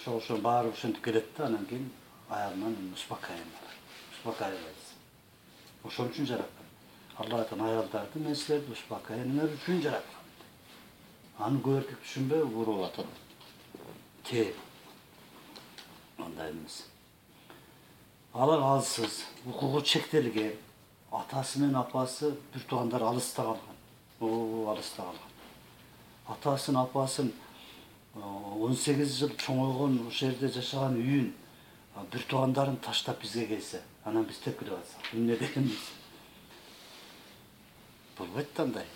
S1: Ошо баары ошентип келет да, анан кийин аялынан успокаивать. Ошон үчүн жараткан. Алла айтқан аялдарды мен силерди успокоение үчүн жараткан. Аны көп эркек түшүнбөй уруп атат. Андай эмес. Алар алсыз, укугу чектелген, атасы менен апасы бир туугандар алыста калган. Алыста калган. Атасын, апасын 18 жыл чоңойгон, ошол жерде жашаган үйүн бир туугандарын таштап бизге келсе, анан биз тепкилеп атсак, эмне дегенбиз? Болбойт да андай.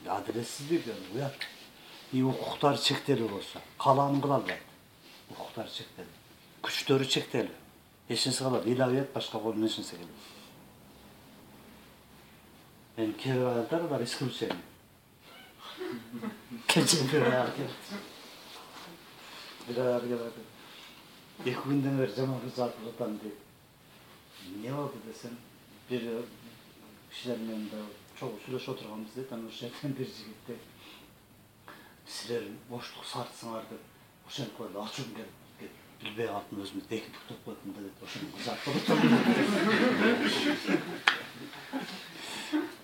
S1: Адилетсиздик, уят. Укуктары чектелүү болсо, каалаанын кыла албайт. Укуктары чектелүү. Күчтөрү чектелүү. Эчинсе калат, илабет башка колунан эчинсе келет. Кээ бир аялдар бар исключение. Кече бир аял келет. Эки күндөн бери жаман кызартып атам дейт. Эмне болду десем, бир кишилер менен чогуу сүйлөшүп отурганбыз дейт. Анан ошол жерден бир жигитте силер боштук сартсыңар деп ошентип койду, ачуум келип билбей калдым, өзүмдү эки буктап койдум да дейт. Ошону кызартып атам.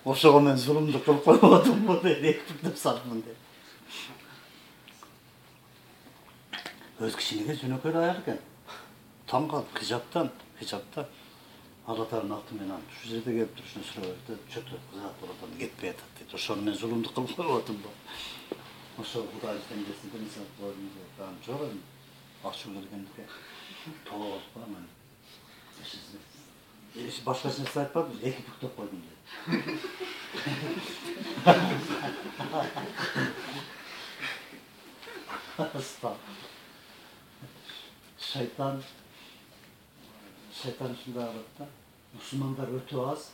S1: Ошого мен зулумдук кылып коюп атамбы дейт, эки буктап сартмын дейт. Өз кичинеге жөнөкөй аял экен. Таң калып хижаптан Алла Тааланын аты менен ушул жерде келип турушуна сүрөбөрдү, чөтө кызартып атам, кетпей атат дейт. Ошону мен зулумдук кылып коюп атамбы. Ошо Кудай теңдесин берсе койдум дейт. Анан жок эми ачуу келгендике. Тоолупа мен. Башка нерсе айтпадым, эки буктап койдум дейт. Шайтан ушундай кылат да. Мусулмандар өтө аз.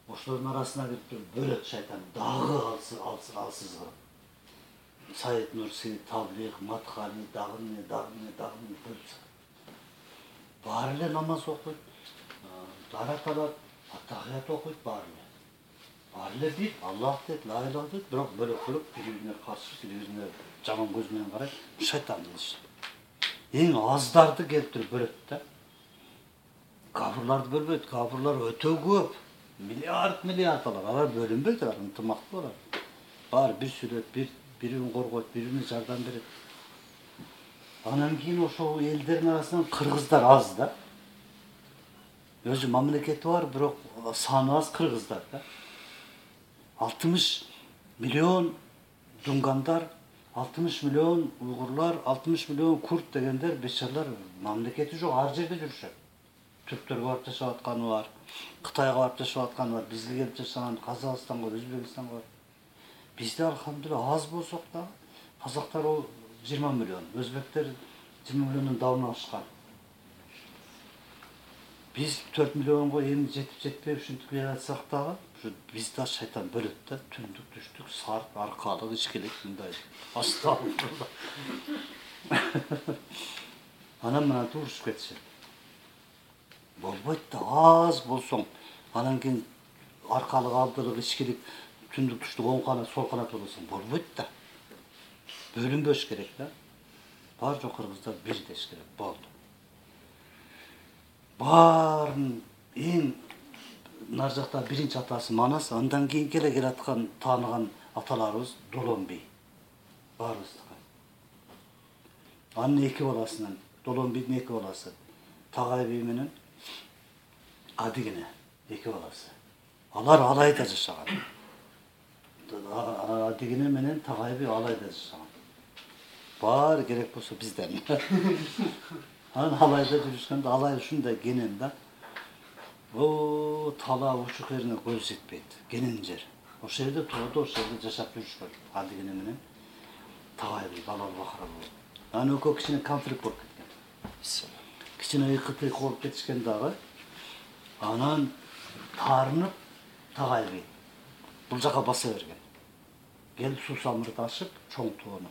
S1: Ошолордун арасына кирип туруп бөлөт шайтан. Дагы алсыз кылып. Саид Нурси, Таблих, Мадхани, дагы бөлүп. Баары эле намаз окуйт, дарат алат, аттахият окуйт баары эле. Баары эле бир, Аллах дейт, ла илаха дейт, бирок бөлөк-бөлөк бири-бирине каршы, бири-бирине жаман көз менен карайт. Шайтандын иши. Эң аздарды келтирип бөлөт да. Кафырларды бөлбөйт, кафырлар өтө көп. Миллиард алар бөлүнбөйт, алар ынтымактуу алар. Баары бир сүрөт, бири-бирин коргойт, бири-бирине жардам берет. Анан кийин ошол элдердин арасынан кыргыздар аз да. Өзү мамлекети бар, бирок саны аз кыргыздар да. 60 миллион дунгандар, 60 миллион уйгурлар, 60 миллион курд дегендер бечарлар мамлекети жок, ар жерде жүрүшөт. Түрктөргө барып жашап атканы бар, Кытайга барып жашап атканы бар, бизге келип жашаган Казакстанга, Өзбекстанга бар. Бизде алхамдулилла аз болсок да, казактар 20 миллион, өзбектер 20 миллиондон дагы ашкан. Биз 4 миллионго эми жетип ушинтип келе жатсак дагы, бизде шайтан бөлөт да, түндүк, түштүк, сарп, аркалык, ичкилик мындай. Астагфирулла. Анан мына урушуп кетишет. Болбойт да, аз болсоң, анан кийин аркалык, алдылык, ичкилик, түндүк, түштүк, оң канат, сол канат болсоң болбойт да. Бөлүнбөш керек да. Бар жок кыргыздар бир деш керек, болду. Баарын эң нар жакта биринчи атасы Манас, андан кийин келаткан тааныган аталарыбыз Долонби. Баарыбыздыкы. Анын эки баласынан, Долонбидин эки баласы, Тагай би менен Адигине эки баласы. Алар Алайда жашаган. Адигине менен Тагай би Алайда жашаган. Баары керек болсо бизден. Анан Алайда жүрүшкөндө Алай ушундай кенен да. Тала учук жерине көз жетпейт. Кенен жер. Ошол жерде тууду, ошол жерде жашап жүрүшкөн. Адигине менен Тагай би балал бакыра болуп. Анан экөө кичине конфликт болуп кеткен. Кичине ыйкы-тыйкы болуп кетишкен дагы. Анан таарынып Тагай би бул жака баса берген. Келип суу самырды ашып, чоң тоону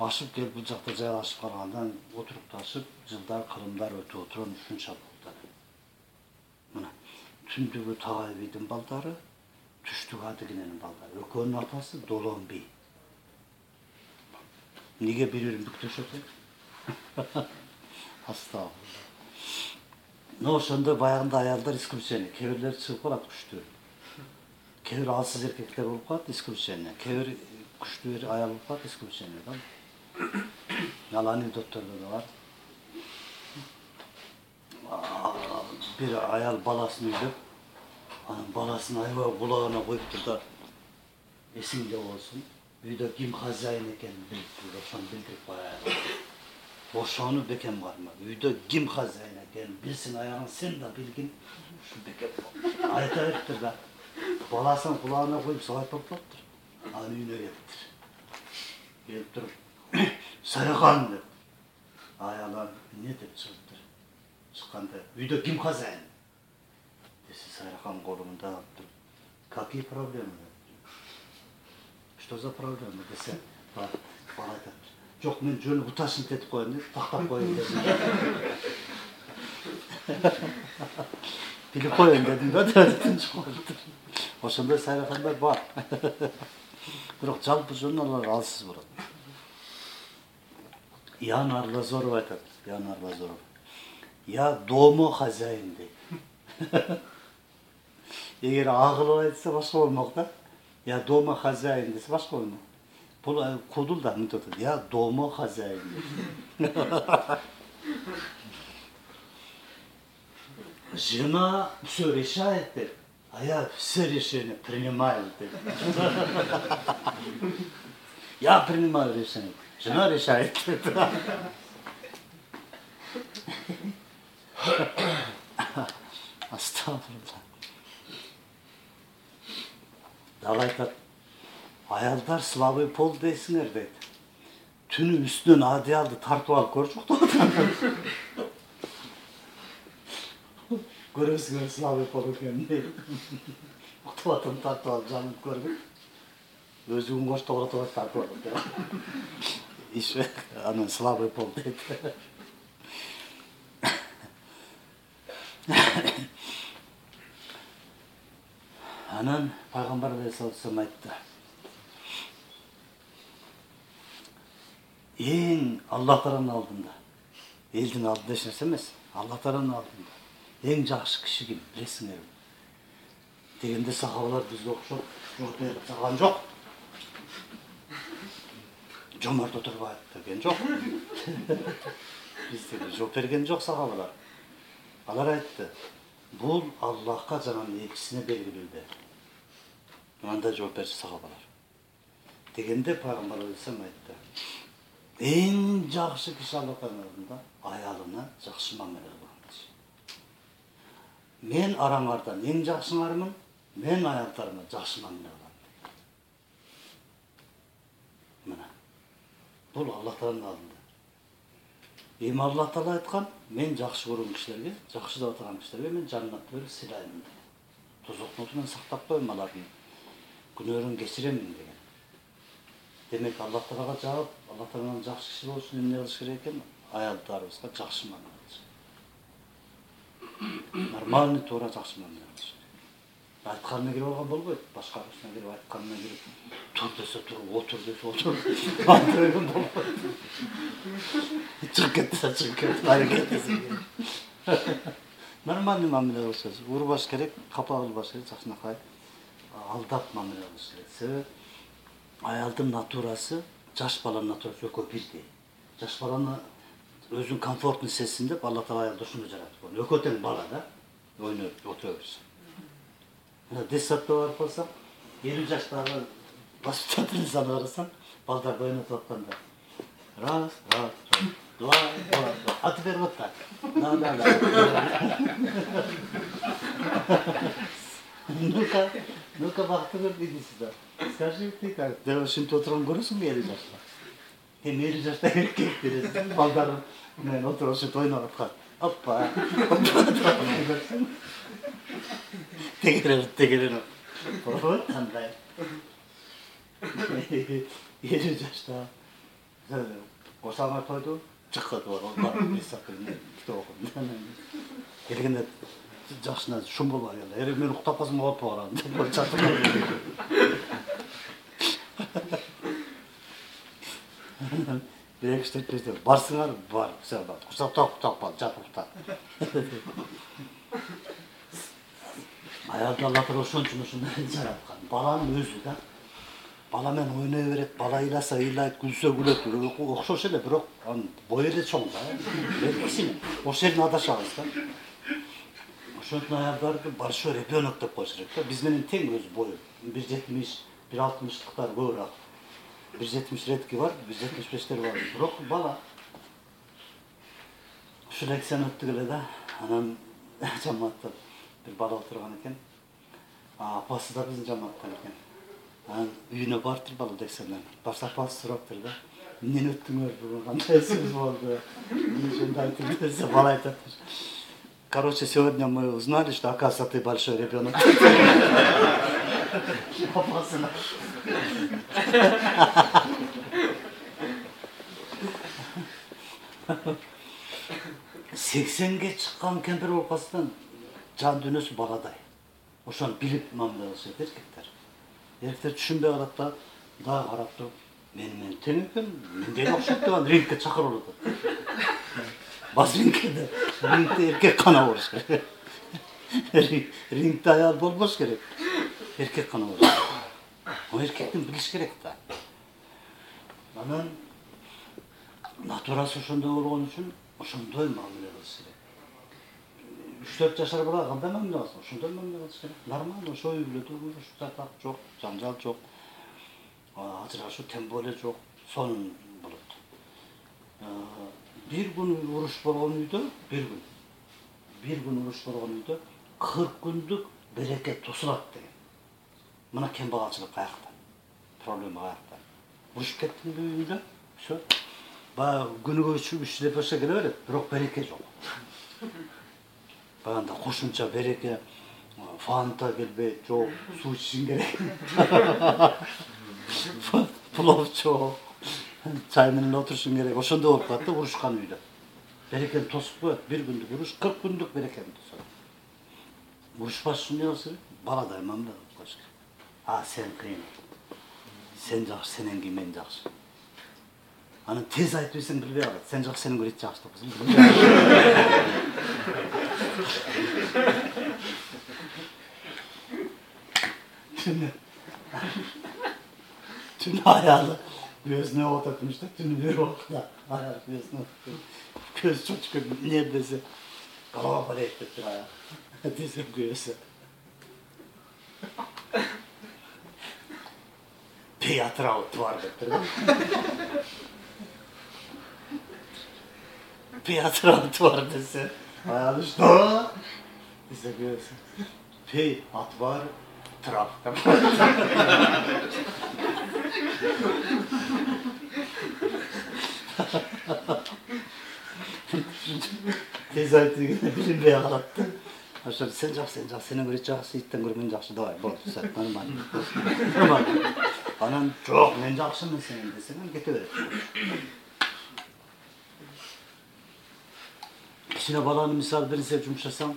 S1: ашып келип бул жакта жайлашып калгандан отурукташып, жылдар, кылымдар өтүп отурган ушунча болду. Мына түндүгү Тагай бидин балдары, түштүгү Адигиненин балдары. Экөөнүн атасы Долонби. Неге бири-бирин бүктөшөт? Астагфирулла. Ошондо баягында аялдар исключение, кээ бирлер чыгып калат күчтүү. Кээ бир алсыз эркектер болуп калат исключение, кээ бир күчтүү аял болуп калат исключение да. Ал анекдоттордо да бар. Бир аял баласын үйлөп, анан баласын аябай кулагына коюптур да, эсиңде болсун, үйдө ким хозяин экенин билип, ошону билдирип коя. Ошону бекем карма. Үйдө ким хозяин экенин билсин аягын, сен да билгин, ушу бекем. Айта бериптир да. Баласын кулагына коюп сабайт болуп калыптыр. Анын үйүнө келиптир. Келип туруп, Сайрахан деп. Аялар эмне деп чыгыптыр. Чыкканда үйдө ким хозяин? Десе Сайрахан колунда алыптыр. Какие проблемы? Что за проблема десе, бала айтат. Жок, мен жөнү буташын этип коеюн деп, тактап коеюн дедим. Билип коеюн дедим да, ошондой Сайрахандар бар. Бирок жалпы жөн алар алсыз болот. Ян Арлазоров айтат, Ян Арлазоров. Я дома хозяин дейт. Эгер агылып айтса башка болмок да. Я дома хозяин десе башка болмок. Бул кудул да мынтип атат. Я дома хозяин. Жена все решает, а я все решения принимаю. Я принимаю решение. Жена решает. Астагфирулла. Дагы айтат. Аялдар слабый пол дейсиңер дейт. түнү үстүнөн одеялды тартып алып көрчү уктап. Көрөсүңөр слабый пол экен. Уктап атам тартып алып жанып көргүн. Өзү үн коштоготуп тартып алып. Иш анан слабый пол дейт. Анан пайгамбар алейхиссалам айтты. Эң Алла Тааланын алдында, элдин алдында эч нерсе эмес, Алла Тааланын алдында эң жакшы киши ким, билесиңерби? Дегенде сахабалар бизге окшоп жооп берип турган жок. Жомарт Отурбаев деген жок. Бизге жооп берген жок сахабалар. Алар айтты, бул Аллахка жана элчисине белгилүү. Анда жооп берчү сахабалар. Дегенде пайгамбар алейхиссалам айтты, эң жакшы киши Алла Тааланын алдында аялына жакшы мамиле кылган киши. Мен араңардан эң жакшыңармын, мен аялдарыма жакшы мамиле кылам. Мына. Бул Алла Тааланын алдында. Эми Алла Таала айткан, мен жакшы көргөн кишилерге, жакшы деп атаган кишилерге мен жаннатты берип сыйлайм. Тозоктун отунан сактап коем, алардын күнөөрүн кечиремин деген. Демек Алла Таалага жаап, Алла Тааланын жакшы киши болуш үчүн эмне кылыш керек экен? Аялдарыбызга жакшы мамиле кылыш. Нормальный туура жакшы мамиле кылыш. Айтканына кирип алган болбойт. Башкаруусуна кирип айтканына кирип, тур десе туруп, отур десе отур. Антырган болбойт. Чыгып кетсе чыгып кетип, аракет десе. Нормальный мамиле кылыш. Урбаш керек, капа кылбаш керек, жакшынакай алдап мамиле кылыш керек. Себеби аялдын натурасы, жаш баланын натурасы экөө бирдей. Жаш баланы өзүн комфортный сезсин деп Алла Таала аялды ушуну жараткан. Экөө тең бала да, ойноп отура берсин. Мына детсадка барып калсак, 50 жаштагы воспитательницаны карасаң, балдарды ойнотуп атканда. Раз, два. А теперь вот так. Да. Ну-ка, бактыңыр, иди сюда. Скажи, ты как? Да ушинтип отурган көрөсүң 50 жашта. Эми 50 жашта эркек бересиң, балдары менен отуруп ушинтип ойноп аткан. Оппа. Тегерен. Вот кандай. 50 жашта. Осама тойду, чыкты бар. Бесакылны китеп окудум. Келгенде жашына шум болбой эле. Эре мен уктап калсам болуп барам деп чатып. Бирек иштетпейсиңер, барсыңар, бар, все бар. Курсактап кал, жатып уктап. Аялды Алла Таала ошончун жараткан. Баланын өзү да. Бала менен ойной берет, бала ыйласа ыйлайт, күлсө күлөт. Окшош эле, бирок анын бою эле чоң да. Кичине. Ошол жерден адашабыз да. Ошонтун аялдарды большой ребенок деп коюш керек да. Биз менен тең өзү бою. 1.70, 1.60-тыктар көбүрөөк. 1.70 редки бар, 1.75-тер бар. Бирок бала. Ушул лекцияны өттүк эле да. Анан жамаатта бир бала отурган экен. Апасы да биздин жамааттан экен. Анан үйүнө барыптыр бала лекциядан. Баш апасы сураптыр да. Эмнени өттүңөр бүгүн, кандай сөз болду? Ошондой айтып десе бала айтат. Короче, сегодня мы узнали, что, оказывается, ты большой ребенок. Апасына. 80-ге чыккан кемпир болуп калсаң, жан дүйнөсү баладай. Ошону билип мамиле кылыш керек эркектер. Эркектер түшүнбөй калат да, дагы карап туруп, мен тең экен, менден окшойт деп рингке чакырып атат. Бас рингде эркек кана болуш керек. Рингде аял болбош керек. Эркек кана болуш керек. О эркектин билиш керек да. Анан натурасы ошондой болгон үчүн ошондой мамиле кылыш керек. 3-4 жашар бала кандай мамиле кылсын? Ошондой мамиле кылыш керек. Нормально, ошо үй бүлөдө уруштак жок, жаңжал жок. Ажырашуу тем более жок. Сонун болот. Bir gün uruş bolğon үйдө, bir gün uruş bolğon үйдө 40 күндүк берекет тосулат деген. Мына кембагалчылык каякта? Проблема каякта? Урушуп кеттиңби үйүңдө? Ошо баягы күнүгө 3 деп болсо келе берет, бирок береке жок. Баганда кошумча береке, фанта келбейт, жок, суу ичишиң керек. Плов жок, чай менен отурушуң керек. Ошондой болуп калат да урушкан үйдө. Берекени тосуп коет, бир күндүк уруш 40 күндүк берекени тосот. Урушпаш үчүн эмне кылыш керек? Баладай мамиле кылып коюш керек. Сен кыйын. Сен жакшы, сенен кийин мен жакшы. Аны тез айтып берсең билбей калат. Сен жакшы, сенен көрө эч жакшы деп койсоң билбей калат. Түнү аялы көзүнө отуртмуш да, түнү бир убакта аял көзүнө көз чочуп эмне десе, голова болейт деп тур аял. Десе көзү. Театрал твар деп тур да. Театрал твар десе, аял что? Десе көзү. Пей отвар трав. Тез айтып дегенде билинбей калат да. Ошо сен жакшы, сенен көрө жакшы, иттен көрө мен жакшы, давай, болду, все, нормально. Анан жок, мен жакшымын сенен десең, кете берет. Кичине баланы мисалы бир нерсе жумшасаң,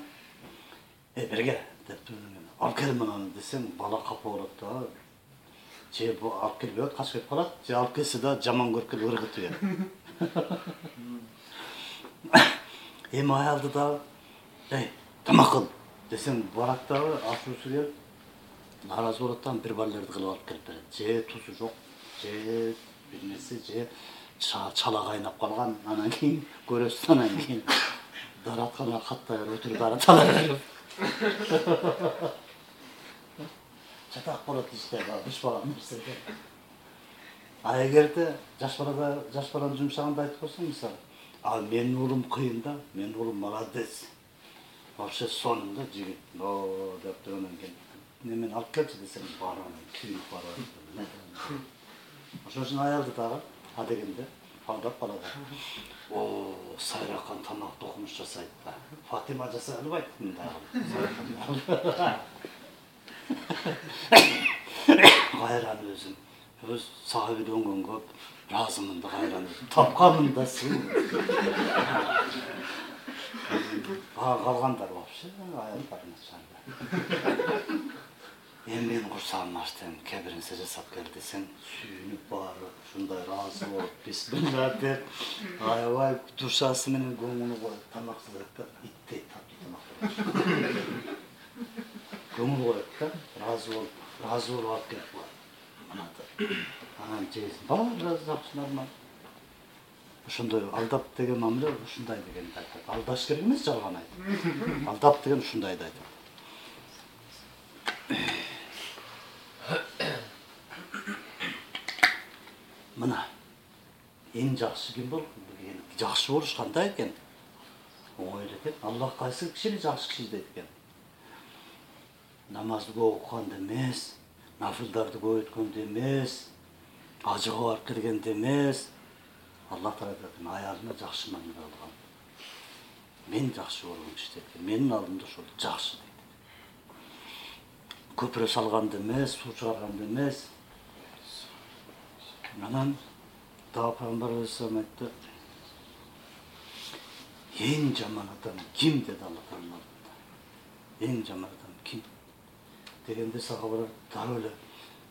S1: берге деп алып кел мынаны десең, бала капа болот да. Же бу алып келбей качып кетип калат, же алып келсе да жаман көрүп келип ыргытып берет. Эми аялды дагы, тамак кыл десең, барат дагы ачуусу келип, нааразы болот да, бир баллерди кылып алып келип берет. Же тузу жок, же бир нерсе, же чала кайнап калган, анан кийин көрөсүз, анан кийин дараткана каттай өтүрүп даратала берип. Чатак болот иште, үч баланын нерседе. А эгерде жаш баланы жумшаганда айтып койсоң, мисалы, менин уулум кыйын да, менин уулум молодец. Вообще сонун да жигит. Деп тургандан кийин немени алып келчи десең, барам, күйүп барам. Ошон үчүн аялды дагы дегенде алдап балада. Сайракан тамак токумуш жасайт да. Фатима жасай албайт мындай. Кайран өзүм. Өз сага үйлөнгөн көп, разымын да кайран өзүм. Тапканмын да сен. Калгандар вообще аялдарына чанда. Мен курсагым ачтым, кээ бир нерсе жасап кел десең, сүйүнүп барып, ушундай ыраазы болуп, бисмилла деп, аябай душасы менен көңүлү коюп, тамак кылып да, иттей таптуу тамак кылып. Көңүл коюп да, ыраазы болуп алып келип коет. Анан жейсиң, баары жакшы, нормал. Ошондой алдап деген мамиле ушундай дегенди айтат. Алдаш керек эмес, жалган айтып. Алдап деген ушундайды айтат. Мына эң жакшы ким болуп, жакшы болуш кандай экен? Оңой эле экен. Аллах кайсы кишини жакшы киши дейт экен? Намазды көп окуганды эмес, нафылдарды көп өткөндү эмес, ажыга барып келгенди эмес. Аллах Таала айтат, аялына жакшы мамиле кылган. Мен жакшы болгон киши дейт. Менин алдымда ошол жакшы дейт. Көпүрө салганды эмес, суу чыгарганды эмес. Анан дагы Пайгамбар алейхиссалам айтты. Эң жаман адам ким деди Алла Таала. Эң жаман адам ким? Дегенде сахабалар дароо эле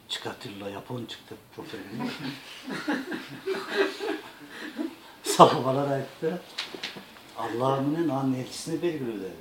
S1: Чикатило япончик деп жооп берген. Сахабалар айтты, Алла менен анын элчисине белгилүү деди.